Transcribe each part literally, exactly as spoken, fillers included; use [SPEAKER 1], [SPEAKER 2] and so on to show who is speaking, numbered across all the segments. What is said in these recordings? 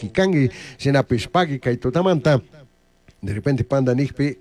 [SPEAKER 1] wawki kanki shinapish pagui kay tutamanta de repente panda nijpi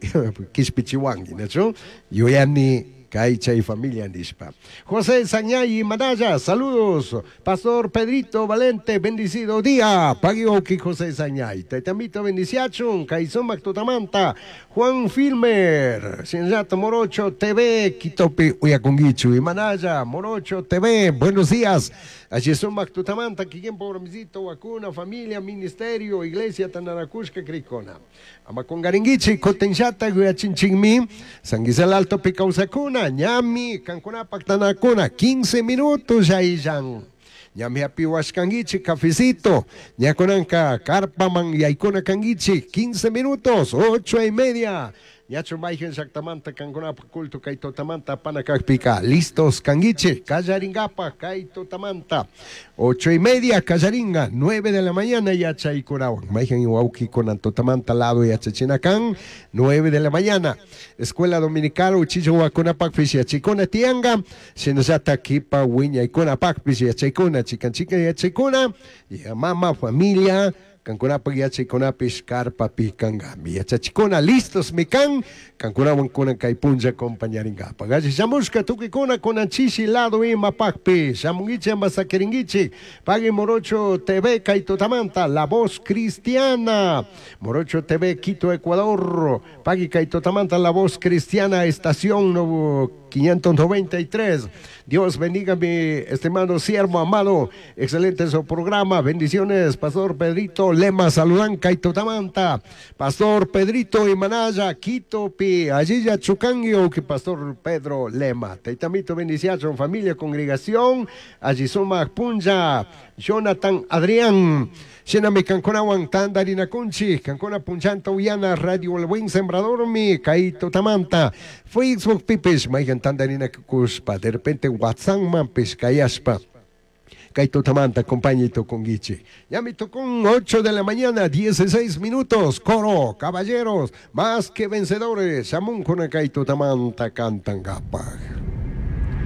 [SPEAKER 1] kishpichiwanki nachu yuyani kay chay familia nishpa. José Sañay Manaya, saludos. Pastor Pedrito Valente, bendecido día. Pagui wawki José Sañay. Taytamito bendiciachun, kay sumak tutamanta. Juan Filmer, Shinllato Morocho T V, Quitopi uyakunguichu. Manaya, Morocho T V, buenos días. Allí sumak tutamanta, kikin programicito, vacuna, familia, ministerio, iglesia, tananakushka, krikona. Ama kungaringuichi, kutinllata, yuyachinchikmi, San Gisel Alto kawsakuna, ñami, kankunapak tanakuna, quince minutos ya illan. Ñami hapiwashkanguichi cafecito, ñakunanka karpaman yaykuna kanguichi, quince minutos, ocho y media. Ñachu mayhan llaktamanta kankunapak culto kay tutamanta apana kakpika, listos kanguichi, kallaringapa kay tutamanta. Ocho y media kallaringa, nueve de la mañana yachaykunawan. Mayhan wawkikunan tutamanta lado yachachina kan, nueve de la mañana. Escuela Dominical uchilla wawakunapakpish yachaykuna tianga, shinallata kipa wiñaykunapakpish yachaykuna, chikan chikan yachaykuna, y mama, familia, kankunapak yachaykunapish karpapi kankami. Yachachikuna listos mi kan, kankunawan kunan kay punlla acompañaringapaq. Alli shamushka tukuykuna kunan chishi lado imapakpi, shamunguichi ama sakiringuichi, pagui Morocho T V kay tutamanta, La Voz Cristiana, Morocho T V Quito, Ecuador, pagui kay tutamanta, La Voz Cristiana, estación quinientos noventa y tres. Dios bendiga mi estimado siervo amado, excelente su programa, bendiciones, Pastor Pedrito Lema, saludan kay tutamanta, Pastor Pedrito y Manaya, Quito pi, allí ya chukanguio que Pastor Pedro Lema, Taitamito bendiciacho, familia, congregación, allí suma punlla, Jonathan Adrián, Shinami kankunawan tandarinakunchi, kankuna punchanta uyana Radio El Buen Sembrador mi, kay tutamanta, Facebook pipish, mayhan tandarinakushpa, de repente WhatsApp manpish kayashpa, kay tutamanta acompaña tukunguichi. Ya me tocó ocho de la mañana, dieciséis minutos. Coro, caballeros, más que vencedores. Shamunkuna kay tutamanta cantan gapaj.